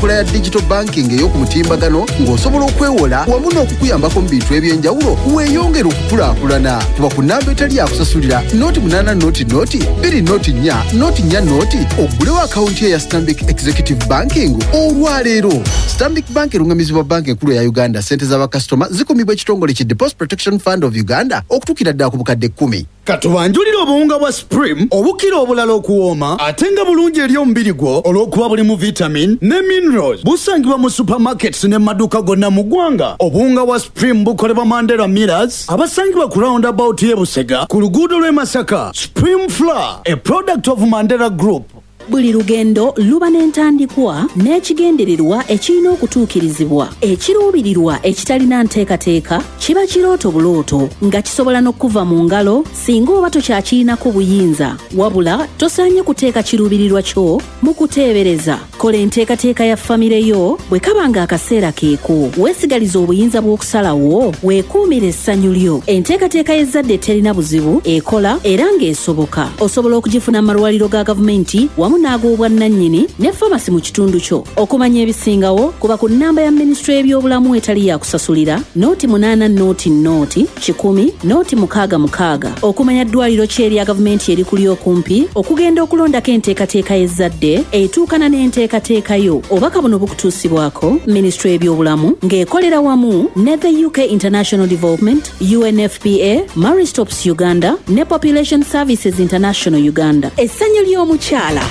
Enkola ya digital banking ey'oku mutimbagano ng'osobola okwewola wamu n'okukuyambako mu bintu eby'enjawulo weeyongere okukulaakulana. Kuba ku nnamba etali yakusasulira 08 0 0 2 0 4 0 oggulewo akawunti eya Stanbic Executive Banking olwaleero. Stanbic Bank erungamizibwa Banka Enkulu eya Uganda. Ssente za bakasitoma zikumibwa ekitongole ki Deposit Protection Fund of Uganda okutuukira ddala ku bukadde kkumi. Katubanjulire obuwunga bwa Supreme obukira obulala okuwooma ate nga bulungi eri omubiri gwo olw'okuba bulimu vitamin ne minerals. Busangibwa mu supermarkets ne mu maduuka gonna mu ggwanga. Obuwunga bwa Supreme bukolebwa Mandera Millers abasangibwa ku round about y'e Busega ku luguudo lw'e Masaka. Supreme Flour, a product of Mandera Group. Buli lugendo luba n'entandikwa n'ekigendererwa ekirina okutuukirizibwa. Ekiruubirirwa ekitalina nteekateeka kiba kirooto bulooto nga kisobola n'okukuva mu ngalo singa oba tokyakirinako buyinza. Wabula tosaanye kuteeka kiruubirirwa kyo mu kuteebereza. Kola enteekateeka ya famire yo bwe kaba ng'akaseera keeko. Weesigalize obuyinza bw'okusalawo, weekuumire essanyu lyo. Enteekateeka y'ezzadde eterina buzibu ekola era ng'esoboka. Osobola okugifuna mu malwaliro ga gavumenti wamu n'ag'obwannannyini ne famasi mu kitundu kyo. Okumanya ebisingawo, kuba ku nnamba ya minisitule y'ebyobulamu etali ya kusasulira, 08 0 0 100 066 okumanya ddwaliro ki erya gavumenti erikuli okumpi okugenda okulondako enteekateeka y'ezzadde etuukana n'enteekateeka yo. Obubaka buno bukutuusibwako minisitule y'ebyobulamu ng'ekolera wamu ne the UK International Development, UNFPA, Marie Stopes Uganda ne Population Services International Uganda. Essanyu ly'omukyala.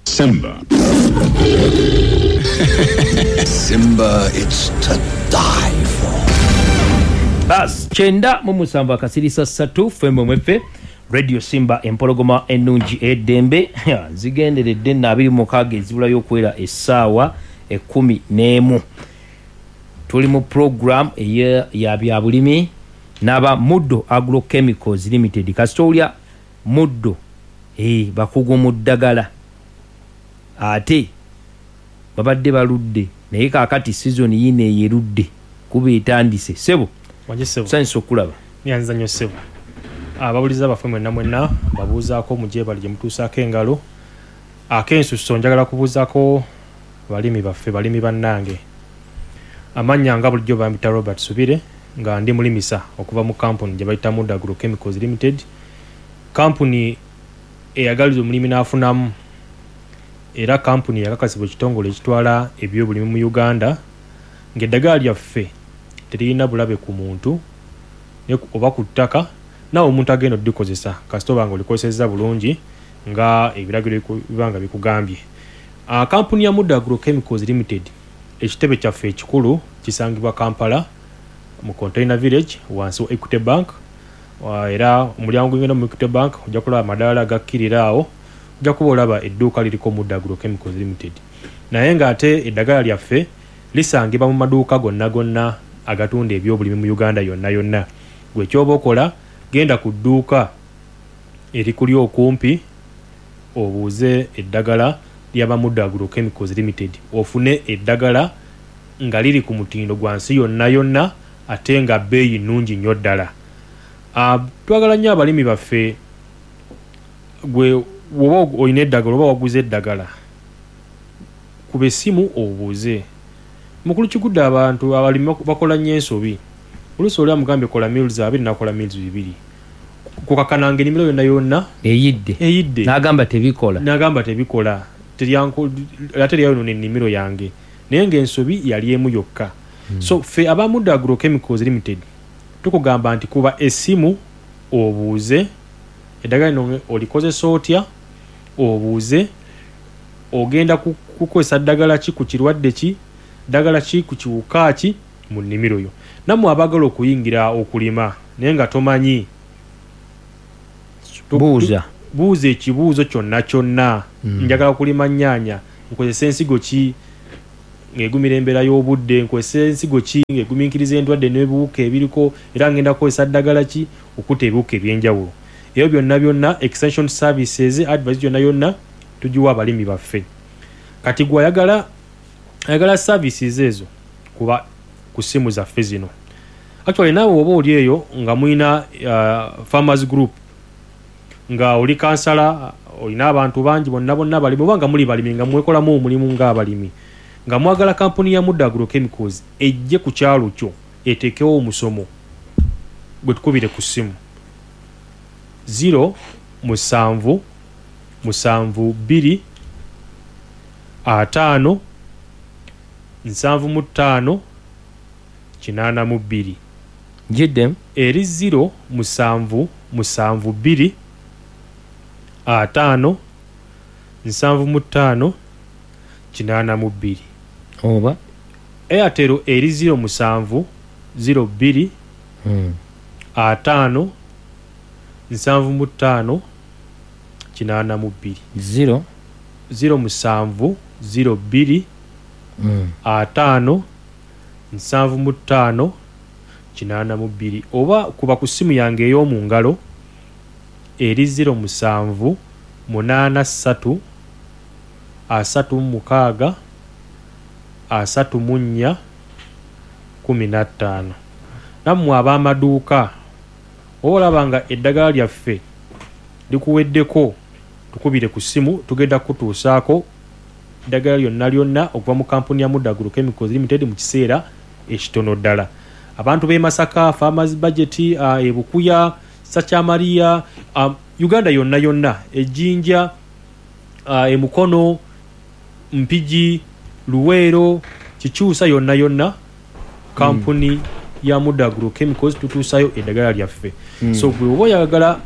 Simba. Simba, it's to die for. Bas 97 akasirisa ssatu ffe mweffe Radio Simba empologoma ennungi ey'eddembe. Zigenderedde nno 26 ezibulayo okuwera essaawa 11. Tuli mu program eya ya byabulimi n'aba Muddo Agrochemicals Limited. Kasita owulira Muddo, bakugu mu ddagala ate babadde baludde naye kaakati sizoni yiino eyo erudde kuba etandise. Ssebo, Wangi ssebo. tusanyuse okukulaba. Neyanziza nnyo ssebo. Ababuliza baffe mwenna mwenna mbabuuzaako mugyebale gye mutuusaako engalo. Ak'ensusso njagala kubuuzaako balimi baffe, balimi bannange. Amannya nga bulijjo bampita Robert Subire nga ndi mulimisa okuva mu kampuni gye bayita Muddo Agrochemicals Limited. Kampuni eyagaliza omulimi n'afunamu era kampuni eyakakasibwa ekitongole ekitwala ebyobulimi mu Uganda ng'eddagala lyaffe teririna bulabe ku muntu oba ku ttaka naawe omuntu agenda oddikozesa kasita oba nga olikozesezza bulungi nga ebiragiro biba nga bikugambye. Kampuni ya Muddo Agrochemicals Limited ekitebe kyaffe ekikulu kisangibwa Kampala mu Container Village wansi wa Equity Bank era omulyango guyingira mu Equity Bank ojja kulaba amadaala gakkirira awo ojja kuba olaba edduuka liriko Muddo Agrochemicals Limited naye ng'ate eddagala lyaffe lisangibwa mu maduuka gonna gonna agatunda ebyobulimi mu Uganda yonna yonna. Gwe ky'oba okola genda ku dduuka erikuli okumpi obuuze eddagala lya ba Muddo Agrochemicals Limited ofune eddagala nga liri ku mutindo gwa nsi yonna yonna ate nga bbeeyi nnungi nnyo ddala. Twagala nnyo abalimi baffe gwe woba olina eddagala oba waguze eddagala kuba essimu obuuze. Mukulu Kigudde abantu abalimi bakola nnyo ensobi. Oluusi oli amugambye kola mils abiri n'akola mils bibiri. Kukakana nga ennimiro yonna yonna eyidde. Eyidde. N'agamba tebikola. N'agamba tebikola. Ate lyayonoona ennimiro yange. Naye ng'ensobi yali emu yokka. So ffe aba Muddo Agrochemicals Limited tukugamba nti kuba essimu obuuze eddagala lino olikozesa otya, obuuze ogenda kukozesa ddagala ki ku kirwadde ki, ddagala ki ku kiwuka ki mu nnimiro yo. Nammwe abaagala okuyingira okulima naye nga tomanyi, Buuza. Buuza ekibuuzo kyonna kyonna. Njagala kulima nnyaanya, nkozese ensigo ki ng'egumira embeera y'obudde, nkozese ensigo ki ng'egumiikiriza endwadde n'ebiwuka ebiriko, era ngenda kukozesa ddagala ki okutta ebiwuka eby'enjawulo. Ebyo byonna byonna extension services, advice yonna yonna tugiwa abalimi baffe. Kati gwe ayagala services ezo kuba ku ssimu zaffe zino. Actually naawe oba oli eyo nga mulina farmers group nga oli kansala Olina abantu bangi bonna bonna balimi, oba nga muli balimi nga mwekolamu omulimu ng'abalimi, nga mwagala kampuni ya Mudde Agrochemicals ejje ku kyalo kyo eteekewo omusomo, gwe tukubire ku ssimu 0 7 7 2 5 75 82. Giddemu. Eri 0 7 7 2 5 75 82. Oba Airtel eri 0 7 02 5 75 82. 0 0 7 02 5 75 82. Oba kuba ku ssimu yange ey'omu ngalo eri 0 7 8 3 36 34 15. Nammwe ab'amaduuka, oba olaba nga eddagala lyaffe likuweddeko, tukubire ku ssimu, tugenda kutuusaako eddagala lyonna lyonna okuva mu kampuni ya Mudde Agrochemicals Limited mu kiseera ekitono ddala. Abantu b'e Masaka, Farmers Budget, e Bukuya, Sakyamaliya, Uganda yonna yonna, Ejjinja, e Mukono, Mpigi, Luweero, Kikyusa yonna yonna, kampuni ya Mudde Agrochemicals tutuusayo eddagala lyaffe. So gwe oba oyagala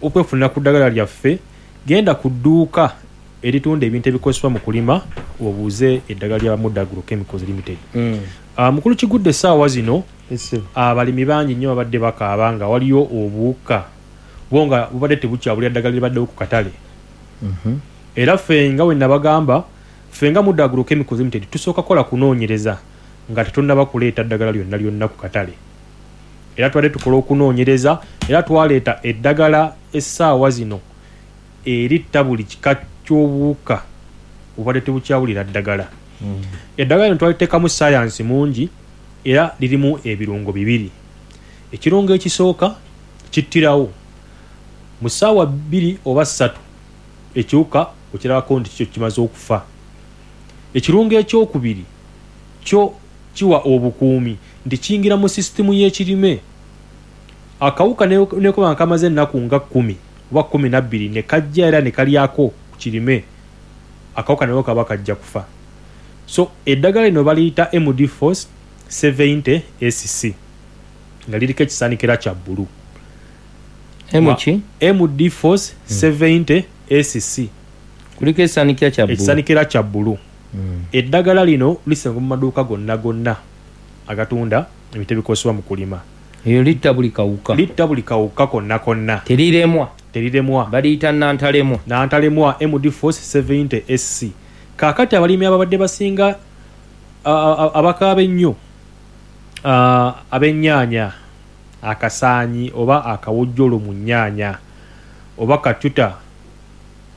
okwefunira ku ddagala lyaffe, genda ku dduuka eritunda ebintu ebikozesebwa mu kulima obuuze eddagala lya Mudde Agrochemicals Limited. Mukulu Kigudde, essaawa zino abalimi bangi nnyo babadde bakaaba nga waliyo obuwuka bo nga bubadde tebukyabulira ddagala libaddewo ku katale. Era ffe nga we nabagamba, ffe nga Mudde Agrochemicals Limited tusooka kukola kunoonyereza nga tetunnaba kuleeta ddagala lyonna lyonna ku katale. Era tubadde tukola okunoonyereza, era twaleeta eddagala essaawa zino eritta buli kika ky'obuwuka obubadde tebukyawulira ddagala. Eddagala lino twaliteekamu sayansi mungi, era lirimu ebirungo bibiri. Ekirungo ekisooka kittirawo mu ssaawa 2 oba 3 ekiwuka okirabako nti kyo kimaze okufa. Ekirungo ekyokubiri kyo kiwa obukuumi nti kiyingira mu sisitimu y'ekirime. Akawuka nekuba nga kamaze ennaku nga 10 oba 12 ne kajja era ne kalyako ku kirime, akawuka nako kaba kajja kufa. So eddagala lino baliyita MD Force 70 SC nga liriko ekisaanikira kya bbulu. MD Force 70 SC kuliko ekisaanikira kya bbulu. Ekisaanikira kya bbulu. Eddagala lino lisangibwa mu maduuka gonna gonna agatunda ebintu ebikozesebwa mu kulima. Eyo litta buli kawuka. Litta buli kawuka konna konna. Teriremwa. Teriremwa. Baliyita nantalemwa. Nantalemwa MD Force 70 SC. Kaakati abalimi ababadde basinga abakaaba ennyo ab'ennyaanya, akasaanyi oba akawojjolo mu nnyaanya, oba katuta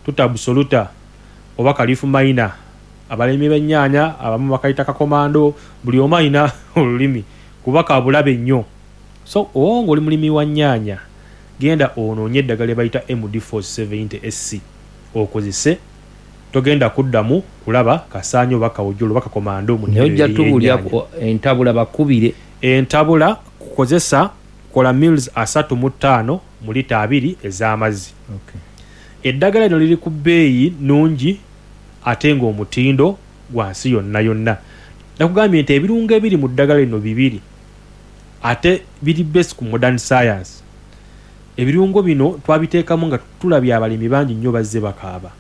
tuta absoluta oba kalifu maina, abalimi b'ennyaanya abamu bakayita kakomando, buli omu alina olulimi kuba kabulabe nnyo. So oba ng'oli mulimi wa nnyaanya, genda onoonye eddagala lye bayita MD Force 70 SC okozese, togenda kuddamu kulaba kasaanyi oba kawojjolo oba kakomando mu Naye ojja tubuulira entabula bakubire. Entabula kukozesa kola mils 35 mu lita 2 ez'amazzi. Eddagala lino liri ku bbeeyi nnungi ate ng'omutindo gwa nsi yonna yonna. Nakugambye nti ebirungo ebiri mu ddagala lino bibiri ate biri based ku modern science. Ebirungo bino twabiteekamu nga tulabye abalimi bangi nnyo bazze bakaaba.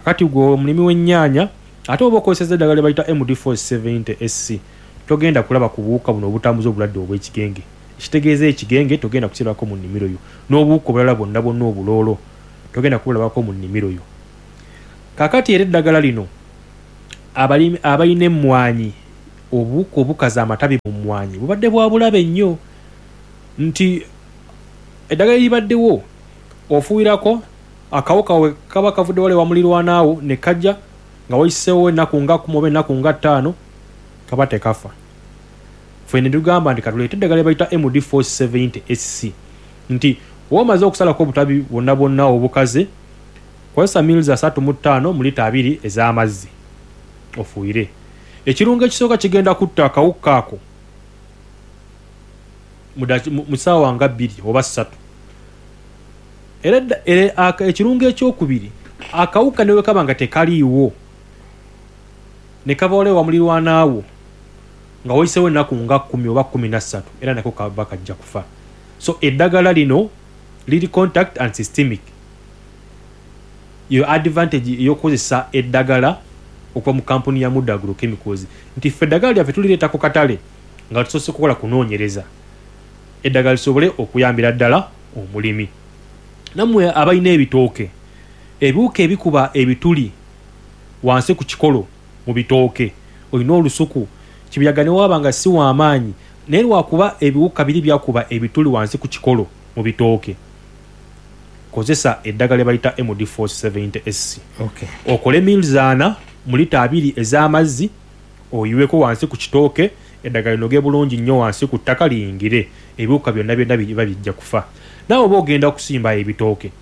Kati gwe omulimi w'ennyaanya ate oba okozesezza eddagala lye bayita MD Force 70 SC, togenda kulaba ku buwuka buno obutambuza obulwadde obw'ekigenge. Ekitegeeza ekigenge togenda kukirabako mu nnimiro yo, n'obuwuka obulala bwonna bwonna obuloolo togenda kubulabako mu nnimiro yo. Kaakati era eddagala lino abalimi abalina emmwanyi, obuwuka obukaza amatabi mu mmwanyi bubadde bwa bulabe nnyo, nti eddagala eribaddewo ofuuyirako akawuka we kaba kavudde wale wamulirwanaawo ne kajja nga wayiseewo ennaku nga 10 oba ennaku nga 5 kaba tekafa. Ffe ne tugamba nti katuleete eddagala lye bayita MD Force 70 SC, nti oba omaze okusalako obutabi bwonna bwonna obukaze, Kozesa mils 35 mu lita 2 ez'amazzi ofuuyire. Ekirungo ekisooka kigenda kutta akawuka ako mu ssaawa nga 2 oba 3. Era ekirungo ekyokubiri, akawuka ne bwe kaba nga tekaliiwo ne kaba olewa mulirwanaawo nga wayiseewo ennaku nga 10 oba 13, era nako kaba kajja kufa. So eddagala lino liri contact and systemic. Yo advantage ey'okukozesa eddagala okuva mu kampuni ya Muda Agrochemicals nti ffe eddagala lyaffe tulireeta ku katale nga tusoose kukola kunoonyereza eddagala lisobole okuyambira ddala omulimi. Nammwe abalina ebitooke, ebiwuka ebikuba ebituli wansi ku kikolo mu bitooke, olina olusuku, kibuyaga ne waaba nga si w'amaanyi naye lwakuba ebiwuka biri byakuba ebituli wansi ku kikolo mu bitooke, kozesa eddagala lye bayita MD Force 70 SC. Okole mils 4 mu lita 2 ez'amazzi oyiweko wansi ku kitooke, eddagala linoge bulungi nnyo wansi ku ttaka liyingire, ebiwuka byonna byonna biba bijja kufa. Naawe oba ogenda kusimba ebitooke,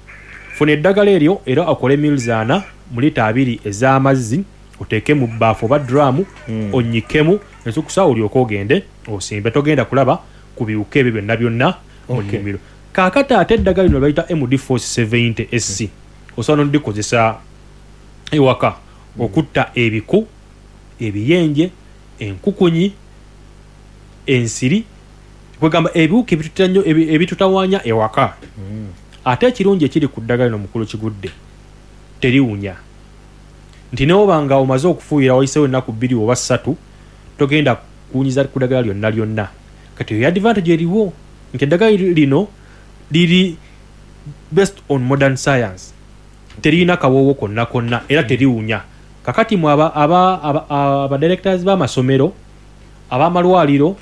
funa eddagala eryo era okole mils 4 mu lita 2 ez'amazzi oteeke mu bbaafu oba drum onnyikemu ensukusa olyoke ogende osimbe. Togenda kulaba ku biwuka ebyo byonna byonna mu nnimiro. Kaakati ate eddagala lino lye bayita MD Force 70 SC osobola n'olikozesa ewaka okutta ebiku, ebiyenje, enkukunyi, ensiri, kwegamba ebiwuka ebitutira nnyo ebitutawaanya ewaka. Ate ekirungi ekiri ku ddagala lino mukulu Kigudde, teriwunya. Nti n'oba nga omaze okufuuyira wayiseewo ennaku 2 oba 3, togenda kuwunyiza ku ddagala lyonna lyonna. Kati eyo advantage eriwo nti eddagala lino liri based on modern science, teririna kawoowo konna konna era teriwunya. Kakati mwe aba directors b'amasomero, ab'amalwaliro,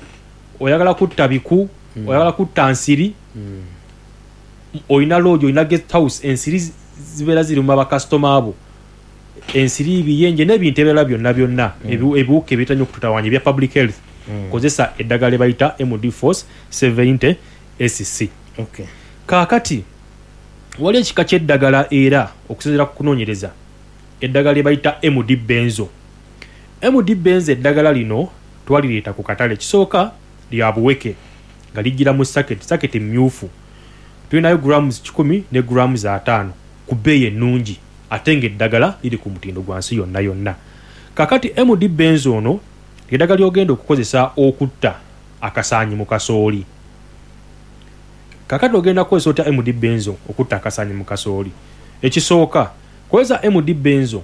oyagala kutta biku, oyagala kutta nsiri, olina lodge, olina guest house, ensiri zibeera ziri mu bakasitoma abo, ensiri, ebiyenje n'ebintu ebirala byonna byonna, ebiwuka ebitanya okututawaanya ebya public health, kozesa eddagala lye bayita MD Force 70 SC. Kaakati wali ekika ky'eddagala era okusinziira ku kunoonyereza, eddagala lye bayita MD Benzo. MD Benzo eddagala lino twalireeta ku katale, kisooka lya buweke nga lijjira mu saketi mmyufu. Tulinayo grams 100 ne grams 50 ku bbeeyi ennungi, ate ng'eddagala liri ku mutindo gwa nsi yonna yonna. Kaakati MD Benzo ono eddagala ly'ogenda okukozesa okutta akasaanyi mu kasooli. Kaakati ogenda kukozesa otya MD Benzo okutta akasaanyi mu kasooli? Ekisooka, kozesa MD Benzo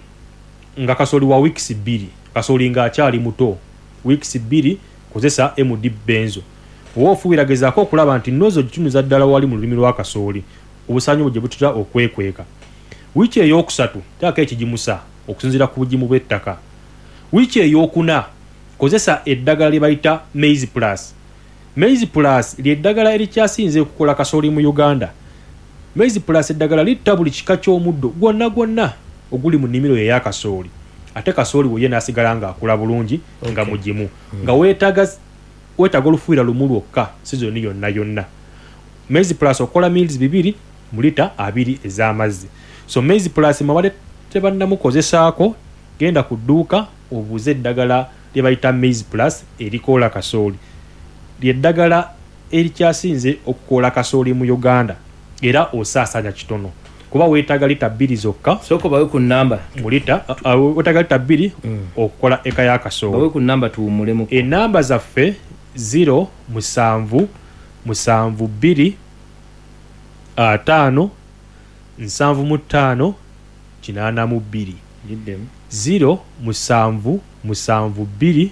nga kasooli wa weeks 2, kasooli ng'akyali muto, weeks 2 kozesa MD Benzo. Oba ofuuyira gezaako okulaba nti nozo gitunuza ddala wali mu lulimi lwa kasooli, obusaanyi obwo gye butera okwekweka. Wiiki eyookusatu teekako ekigimusa okusinziira ku bugimu bw'ettaka. Wiiki eyookuna kozesa eddagala lye bayita Maize Plus. Maize Plus ly'eddagala erikyasinze okukola kasooli mu Uganda. Maize Plus eddagala litta buli kika ky'omuddo gwonna gwonna oguli mu nnimiro yo eya kasooli, ate kasooli we ye n'asigala ng'akula bulungi nga mugimu, nga weetaaga olufuuyira lumu lwokka sizoni yonna yonna. Maize Plus okola mils 2 mu lita 2 ez'amazzi. So Maize Plus mwabadde tebannamukozesaako, genda ku dduuka obuuze eddagala lye bayita Maize Plus erikoola kasooli. Ly'eddagala erikyasinze okukoola kasooli mu Uganda era osaasaanya kitono kuba weetaaga lita 2 zokka. Sooka bawe ku nnamba. Mu lita weetaaga lita 2 okukola eka ya kasooli. Bawe ku nnamba tuwummulemu. Ennamba zaffe 0 7 7 2 5 75 82. 0 7 7 2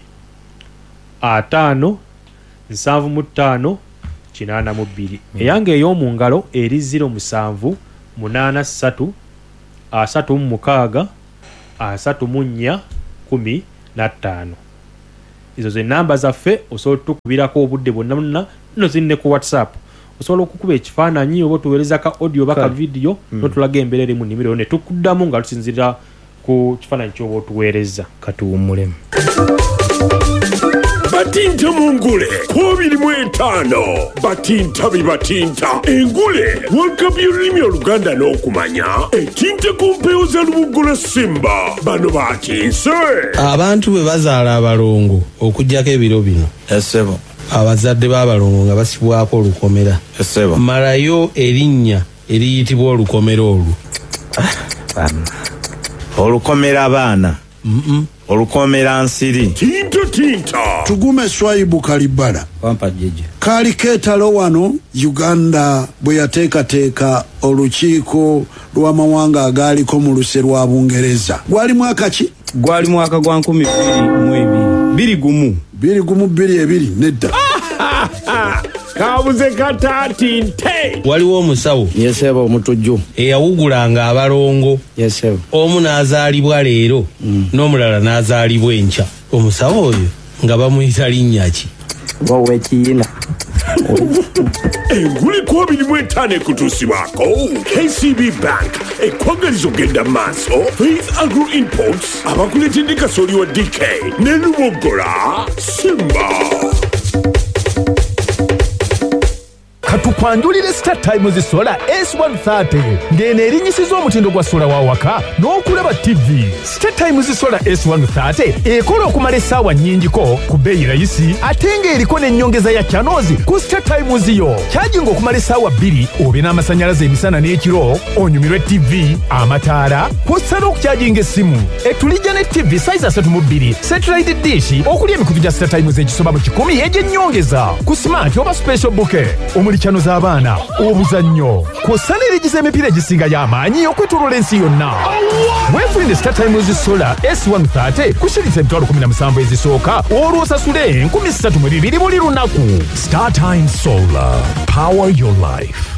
5 75 82. Eyange ey'omu ngalo eri 0 7 8 3 36 34 15. Ezo ze namba zaffe, osobola otukubirako obudde bwonna bwonna, nno ziri ne ku WhatsApp. Osobola okukuba ekifaananyi oba otuweereza ka audio oba ka video n'otulaga embeera eri mu nnimiro ne tukuddamu nga tusinziira ku kifaananyi ky'oba otuweereza. Katuwummulemu. Batinta mu ngule ku 25. Batinta bibatinta engule World Cup y'olulimi Oluganda n'okumanya etinta ku mpewo za Lubugula Simba. Bano batinse. Abantu bwe bazaala abalongo okuggyako ebiro bino, Essebo. abazadde b'abalongo nga basibwako olukomera. Essebo. Malayo erinnya eriyitibwa olukomera olwo. Olukomera abaana. Olukomera nsiri. Tinta tinta. Tugume Swaibu Kalibala. Wampa jjajja. Kaali keetalo wano Uganda bwe yateekateeka olukiiko lw'amawanga agaaliko mu luse lwa Bungereza. Gwali mwaka ki? Gwali mwaka gwa 2002. 21. 21 22 nedda. Kabuze katatinte. Waliwo omusawo. Yesebo omutujju. Eyawugulanga abalongo. Yesebo. Omu n'azaalibwa leero n'omulala n'azaalibwa enkya. Omusawo oyo nga bamuyita linnya ki? W'ekiyina. Engule ku 25 ekutuusibwako KCB Bank ekwagaliza ogenda mu maaso. Faith Agro Imports abakuleetedde kasooli wa DK ne Lubogola Simba. Katukwanjulire Star Times Solar S130 ng'eno erinnyisiza omutindo gwa sola wa waka n'okulaba TV. Star Times Solar S130 ekola okumala essaawa nnyingiko ku bbeeyi rayisi ate ng'eriko n'ennyongeza ya channels ku Star Times yo. Kyajinga okumala essaawa 2 obe n'amasannyalaze emisana n'ekiro, onyumirwe TV, amataala, kw'ossa n'okukyajinga essimu. Etulijja ne TV size 32, satellite dish okuli emikutu gya Star Times egisoba mu 100 egy'ennyongeza ku smart oba special bouquet omuli channel z'abaana, obuzannyo, kw'ossa n'erigiza emipiira egisingayo amaanyi okwetooloola ensi yonna. Weefunire Star Times Solar S130 ku shilingi 17,000 ezisooka olwo osasule 3,200 buli lunaku. Star Times Solar. Power your life.